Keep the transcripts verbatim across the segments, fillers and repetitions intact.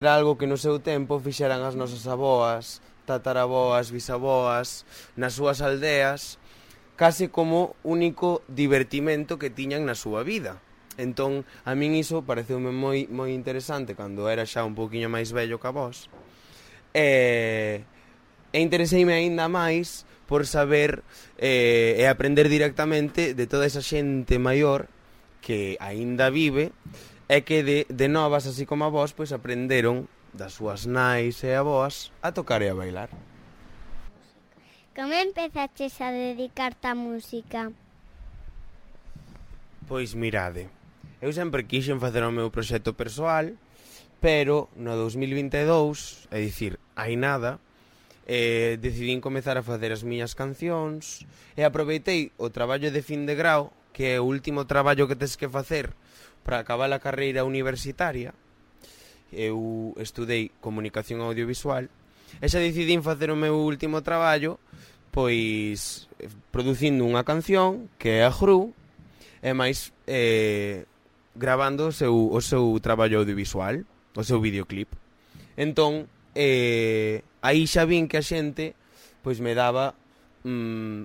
Era algo que no seu tempo fixeran as nosas aboas, tataraboas, bisaboas, nas súas aldeas, case como único divertimento que tiñan na súa vida. Entón, a min iso pareceume moi moi interesante cando era xa un pouquiño máis vello que a vos. E, e intereseime aínda máis por saber eh, e aprender directamente de toda esa xente maior que aínda vive e que de, de novas, así como a vos, pois aprenderon das súas nais e avoas a tocar e a bailar. Como empezaches a dedicarte á música? Pois mirade, eu sempre quixen facer o meu proxecto persoal, pero no dous mil vinte e dous, é dicir, hai nada, eh, decidín comezar a facer as miñas cancións e aproveitei o traballo de fin de grau, que é o último traballo que tes que facer para acabar a carreira universitaria. Eu estudei comunicación audiovisual e xa decidín facer o meu último traballo pois producindo unha canción que é a Gru e máis eh, gravando o seu, o seu traballo audiovisual, o seu videoclip. Entón, eh, aí xa vin que a xente pois me daba mm,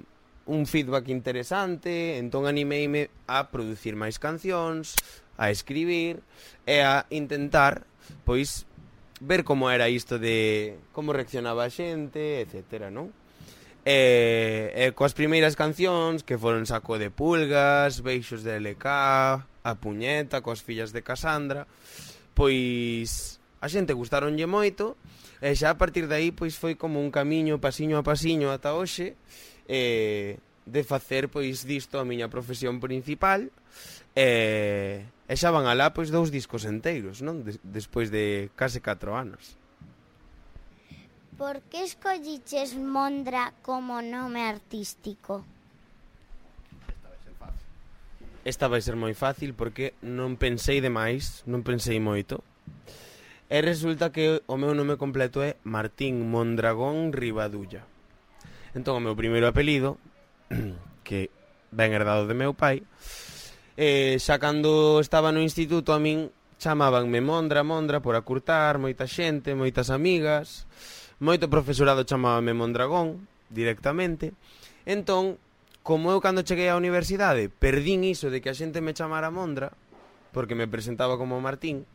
un feedback interesante, entón animeime a producir máis cancións, a escribir e a intentar, pois, ver como era isto de como reaccionaba a xente, etcétera, non? E, e coas primeiras cancións, que foron Saco de Pulgas, Beixos de L K, A Puñeta, coas fillas de Casandra, pois a xente gustaronlle moito, e xa a partir de aí pois foi como un camiño pasiño a pasiño ata hoxe, e de facer pois disto a miña profesión principal, e, e xa van alá pois dous discos enteiros, non? Des, despois de case catro anos. Por que escolliches Mondra como nome artístico? Esta vai ser moi fácil porque non pensei demais, non pensei moito. E resulta que o meu nome completo é Martín Mondragón Rivadulla. Entón o meu primeiro apelido, que ben herdado de meu pai, eh, xa cando estaba no instituto a min chamabanme Mondra, Mondra por acurtar, moita xente, moitas amigas, moito profesorado chamábame Mondragón directamente. Entón, como eu cando cheguei á universidade perdín iso de que a xente me chamara Mondra, porque me presentaba como Martín,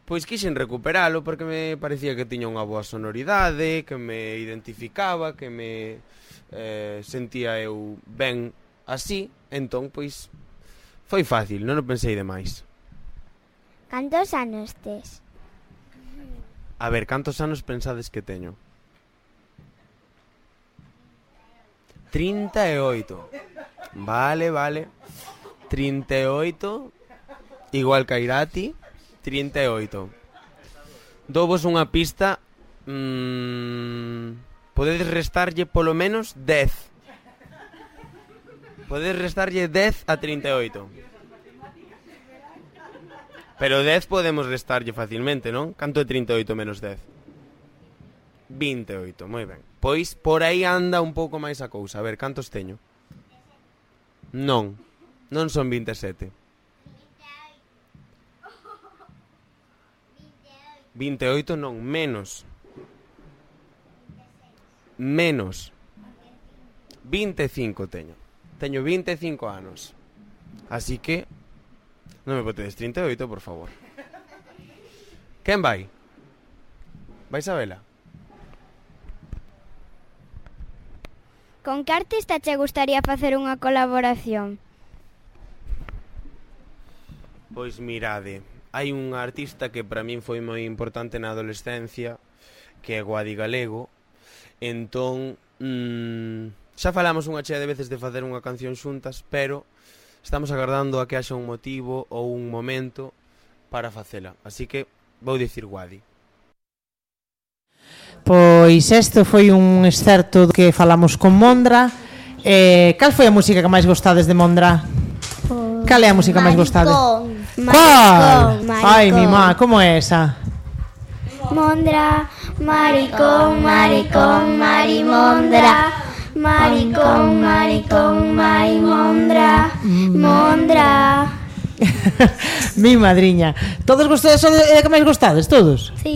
pois quixen recuperalo porque me parecía que tiña unha boa sonoridade, que me identificaba, que me eh, sentía eu ben así. Entón, pois, foi fácil, non o pensei demais. Cantos anos tes? A ver, cantos anos pensades que teño? trinta e oito. Vale, vale. trinta e oito, igual que a Irati, trinta e oito. Douvos unha pista, mmm, podedes restarlle polo menos dez. Podedes restarlle dez a trinta e oito. Pero dez podemos restarlle facilmente, non? Canto é trinta e oito menos dez? vinte e oito, moi ben. Pois por aí anda un pouco máis a cousa. A ver, cantos teño? Non, non son vinte e sete. vinte e oito non, menos. Menos. vinte e cinco teño. Teño vinte e cinco anos. Así que non me botedes trinta e oito, por favor. Quen vai? Vais a vela? Con que artista che gustaría facer unha colaboración? Pois mirade, hai un artista que para min foi moi importante na adolescencia, que é Guadi Galego. Entón, mmm, xa falamos unha chea de veces de facer unha canción xuntas, pero estamos agardando a que haxa un motivo ou un momento para facela. Así que vou dicir Guadi. Pois isto foi un excerto que falamos con Mondra. eh, Cal foi a música que máis gostades de Mondra? Pues, cal é a música máis gostades? Cal? Ai, mi má, como é esa? Mondra, maricón, maricón, marimondra. Maricón, maricón, marimondra. Mondra. Mi madriña. Todos vostedes son de que máis gostades, todos? Sí.